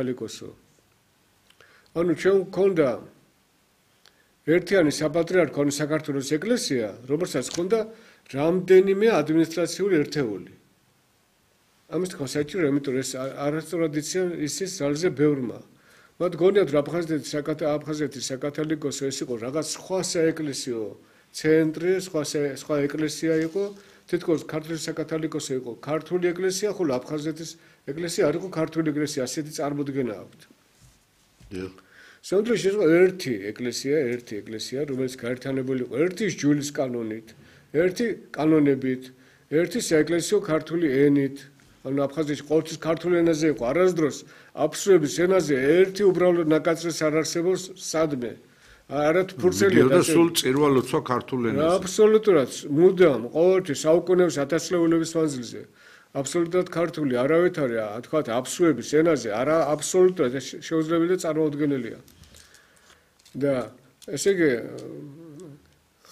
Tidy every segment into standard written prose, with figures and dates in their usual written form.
კათოლიკოსო. ანუ ჩვენ გქონდა ერთიანი საპატრიარქო საქართველოს ეკლესია, რომელსაც ჰქონდა რამდენიმე ადმინისტრაციული ერთეული. ამის თქმა საჭირო, იმიტომ ეს არასწორად იციან ისის ძალზე ბევრმა. მათ გონიათ რომ აფხაზეთის საკათოლიკოსო ეს იყო რაღაც სხვა საეკლესიო ცენტრი, სხვა ეკლესია იყო, თითქოს ქართლის საკათოლიკოსო იყო ქართული ეკლესია, ხოლო აფხაზეთის ეკლესია არ იყო ქართული ეკლესია, ასეთი წარმოდგენა აქვთ. სამუდროში იყო ერთი ეკლესია, რომელიც გაერთიანებული იყო ერთი ჯულის კანონით, ერთი კანონებით, ერთი საეკლესიო ქართული ენით. ანუ აფხაზეთში ყოველთვის ქართულ ენაზე იყო, არასდროს აფსუების ენაზე ერთი უბრალოდ ნაკაცრეს არ არსებობს სადმე. არათ ფურცელია და სულ წირვა-ლოცვა ქართულ ენაზე. აბსოლუტურად, მუდამ, ყოველთვის საუკუნეების ათასწლეულების მანძილზე. აბსოლუტურად ქართული არავითარი, თქვათ, აფსუების ენაზე არა აბსოლუტურად შეუძლებელი და წარმოუდგენელია. და ესე იგი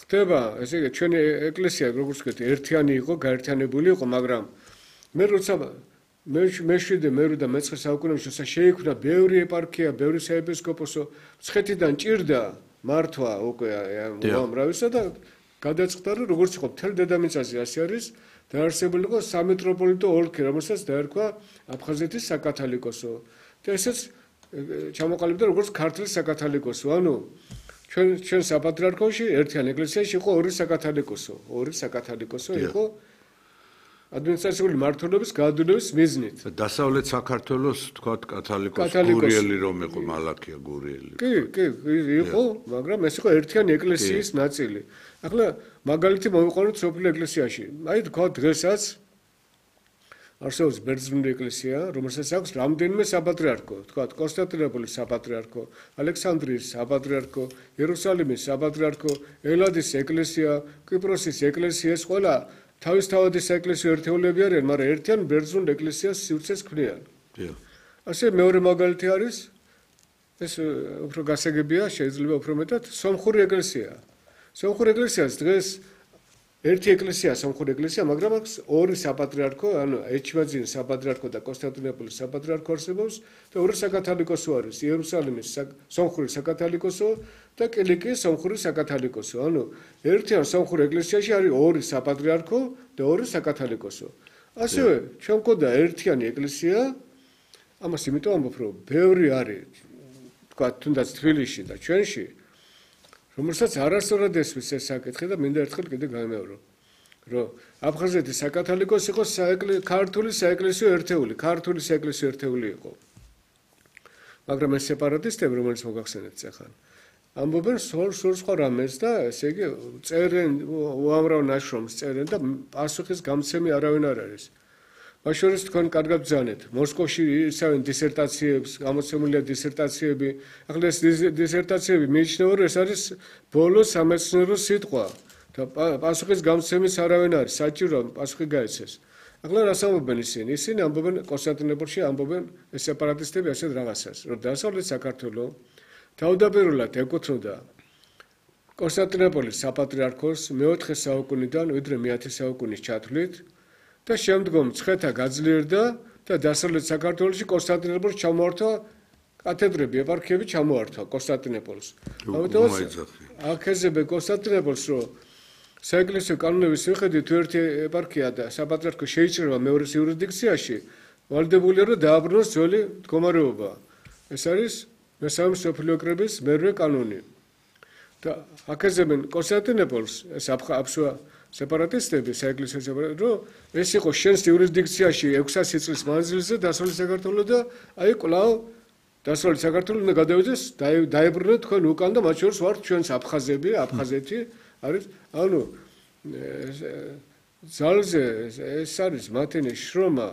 ხდება, ესე იგი ჩვენი ეკლესია როგორც ვთქვით, ერთიანი იყო, გაერთიანებული იყო, მაგრამ მე როცა მე-7 და მე-9 საუკუნეებში შეიქმნა ბევრი ეპარქია, ბევრი საეპისკოპოსო, მცხეთიდან ჭირდა მართვა უკვე უამრავისა და გადაწყდა რომ როგორც იყო მთელ დედამიწაზე ასე არის დაარსებული იყო სამეტროპოლიტო ოლქი, რომელსაც დაერქვა აფხაზეთის საკათოლიკოსო. და ესეც ჩამოყალიბდა როგორც ქართლის საკათოლიკოსო. ანუ ჩვენ საპატრიარქოში ერთიან ეკლესიაში იყო ორი საკათოლიკოსო იყო ადმინისტრაციული მმართველობის გადადებების მიზნით. დასავლეთ საქართველოს თქვათ კათოლიკოსი გურიელი რომ იყო მალაქია გურიელი. კი, იყო, მაგრამ ეს იყო ერთიანი ეკლესიის ნაწილი. ახლა მაგალითი მოვიყვანოთ სოფლიო ეკლესიაში. აი თქვათ დღესაც არსებობს ბერძნული ეკლესია, რომელსაც აქვს რამდენიმე საპატრიარქო, თქვათ კონსტანტინოპოლის საპატრიარქო, ალექსანდრიის საპატრიარქო, იერუსალიმის საპატრიარქო, ელადის ეკლესია, კვიპროსის ეკლესია, ეს ყველა თავისთავადი საეკლესიო ერთეულები არიან, მაგრამ ერთიან ბერძნულ ეკლესიას სივრცეს ქმნიან. ასე მეორე მაგალითი არის, ეს უფრო გასაგებია, შეიძლება უფრო მეტად, სომხური ეკლესია. სომხური ეკლესიას დღეს ერთი ეკლესია, სომხური ეკლესია, მაგრამ აქვს ორი საპატრიარქო, ანუ ეჩმაძინის საპატრიარქო და კონსტანტინოპოლის საპატრიარქო არსებობს და ორი საკათოლიკოსო არის, იერუსალიმის სომხური საკათოლიკოსო და კილიკიის სომხური საკათოლიკოსო. ანუ ერთიან სომხურ ეკლესიაში არის ორი საპატრიარქო და ორი საკათოლიკოსო. ასევე ჩვენ გვქონდა ერთიანი ეკლესია, ამას იმიტომ ამბობ, რომ ბევრი არის, თქვა თუნდაც თბილისში და ჩვენში, რომელსაც არასწორად ესმის ეს საკითხი და მინდა ერთხელ კიდე გამეორო, რომ აფხაზეთის საკათოლიკოსი იყო ქართული საეკლესიო ერთეული იყო. მაგრამ ეს სეპარატისტები, რომელიც მოგახსენეთ ახლა ამბობენ სულ სხვა რამეს და ესე იგი წერენ უამრავ ნაშრომს წერენ და პასუხის გამცემი არავინ არ არის. მათ შორის თქვენ კარგად ბრძანეთ, მოსკოვში ისევენ დისერტაციებს, გამოცემულია დისერტაციები. ახლა ეს დისერტაციები მიიჩნევა, რომ ეს არის ბოლო სამეცნიერო სიტყვა და პასუხის გამცემის არავინ არის, საჭიროა პასუხი გაეცეს. ახლა რას ამბობენ ისინი? ისინი ამბობენ კონსტანტინოპოლში ამბობენ ეს სეპარატისტები ასეთ რაღაცას, რომ დასავლეთ საქართველოს თავდაპირველად ეკუთვნოდა კონსტანტინოპოლის საპატრიარქოს მე-4 საუკუნიდან ვიდრე მე-10 საუკუნის ჩათვლით და შემდგომ მცხეთა გაძლიერდა და დასავლეთ საქართველოში კონსტანტინოპოლს ჩამოართვა კათედრები, ეპარქიები ჩამოართვა კონსტანტინოპოლს. ამიტომ აქეზებენ კონსტანტინოპოლს, რომ საეკლესიო კანონების მიხედვით ერთი ეპარქია და საპატრიარქო შეიჭრება მეორეს იურისდიქციაში, ვალდებულია რომ დააბრუნოს ძველი მდგომარეობა. ეს არის მესამე მსოფლიო კრების მერვე კანონი. და აქეზებენ კონსტანტინოპოლს, ეს აფსუა სეპარატისტები, საეკლესიო სეპარატისტები, რომ ეს იყო შენს იურისდიქციაში 600 წლის მანძილზე დასავლეთ საქართველოს და აი კვლავ დასავლეთ საქართველოს უნდა გადავიდეს, დაებრუნოთ თქვენ უკან და მათ შორის ვართ ჩვენს აფხაზები, აფხაზეთი არის, ანუ ძალზე ეს არის მათენი შრომა,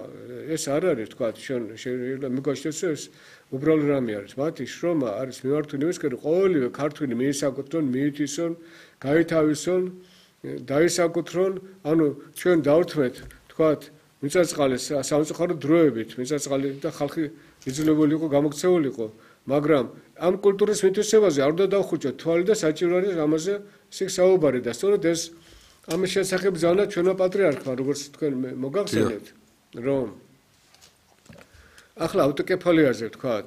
ეს არ არის თქვა შეიძლება მიგოჩნდეს ეს უბრალოდ რამე არის. მათი შრომა არის მიმართული იმისკენ, რომ ყოველივე ქართველი მიისაკუთრონ, მიითვისონ, გაითავისონ, დაისაკუთრონ, ანუ ჩვენ დავთმეთ, თქვათ, მიწა-წყალი სამწუხარო დროებით, მიწა-წყალი და ხალხი იძულებული იყო გამოქცეულიყო, მაგრამ ამ კულტურის მითვისებაზე არ უნდა დავხუჭოთ თვალი და საჭირო არის ამაზე საუბარი და სწორედ ეს ამის შესახებ ბრძანა ჩვენო პატრიარქმა, როგორც თქვენ მოგახსენეთ, რომ ახლა ავტოკეფალიაზე ვთქვათ,